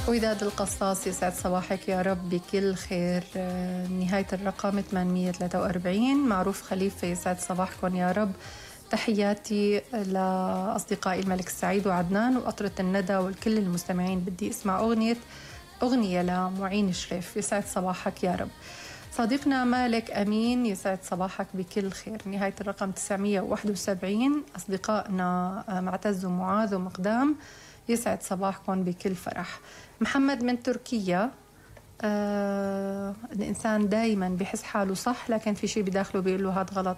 وداد القصاص يسعد صباحك يا رب بكل خير. نهاية الرقم 843. معروف خليفة يسعد صباحكم يا رب. تحياتي لأصدقائي الملك السعيد وعدنان وقطرة الندى والكل المستمعين. بدي اسمع أغنية لمعين شريف. يسعد صباحك يا رب. صديقنا مالك أمين يسعد صباحك بكل خير. نهاية الرقم 971. أصدقائنا معتز ومعاذ ومقدام يسعد صباحكم بكل فرح. محمد من تركيا. الإنسان دايما بيحس حاله صح لكن في شيء بداخله بيقول له هذا غلط.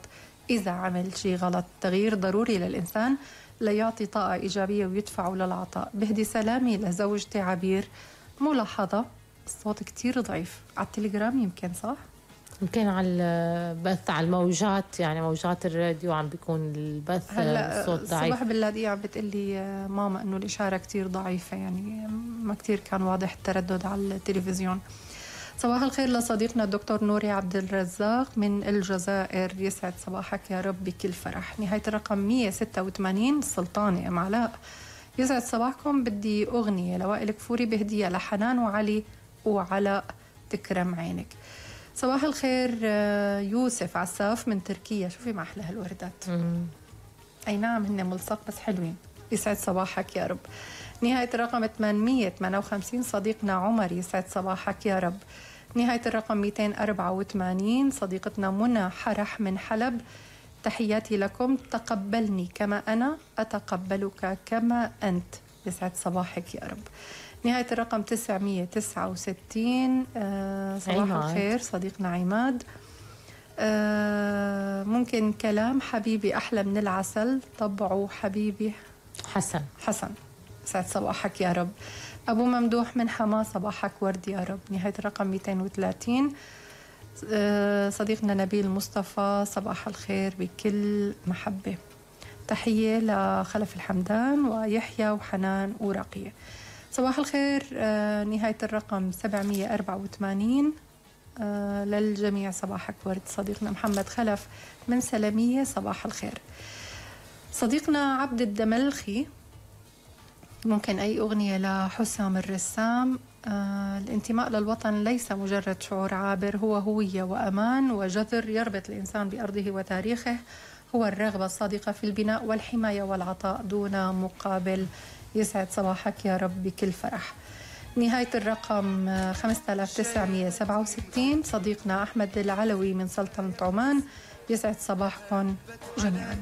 إذا عمل شيء غلط تغيير ضروري للإنسان ليعطي طاقة إيجابية ويدفعه للعطاء. بهدي سلامي لزوجتي عبير. ملاحظة الصوت كتير ضعيف على التليجرام يمكن صح؟ يمكن على البث على الموجات يعني موجات الراديو عم بيكون البث الصوت ضعيف. صباح بالله عم بتقلي ماما انه الاشاره كتير ضعيفه يعني ما كتير كان واضح التردد على التلفزيون. صباح الخير لصديقنا الدكتور نوري عبد الرزاق من الجزائر. يسعد صباحك يا رب بكل فرح. نهايه الرقم 186. سلطاني ام علاء يسعد صباحكم. بدي اغنيه لوائل كفوري بهديه لحنان وعلي وعلاء تكرم عينك. صباح الخير يوسف عساف من تركيا. شوفي ما أحلى هالوردات. أي نعم هن ملصق بس حلوين. يسعد صباحك يا رب. نهاية الرقم 858. صديقنا عمر يسعد صباحك يا رب. نهاية الرقم 284. صديقتنا منى حرح من حلب. تحياتي لكم. تقبلني كما أنا أتقبلك كما أنت. يسعد صباحك يا رب. نهاية الرقم 969. صباح الخير صديقنا عماد. ممكن كلام حبيبي أحلى من العسل طبعه حبيبي حسن. سعد صباحك يا رب. أبو ممدوح من حما. صباحك ورد يا رب. نهاية الرقم 230. صديقنا نبيل مصطفى. صباح الخير بكل محبة. تحية لخلف الحمدان ويحيى وحنان ورقية. صباح الخير. نهاية الرقم 784. للجميع صباحك ورد. صديقنا محمد خلف من سلمية. صباح الخير. صديقنا عبد الدملخي. ممكن أي أغنية لحسام الرسام. الانتماء للوطن ليس مجرد شعور عابر هو هوية وأمان وجذر يربط الإنسان بأرضه وتاريخه. هو الرغبة الصادقة في البناء والحماية والعطاء دون مقابل. يسعد صباحك يا رب بكل فرح. نهاية الرقم 5967. صديقنا أحمد العلوي من سلطنة عمان. يسعد صباحكم جميعا.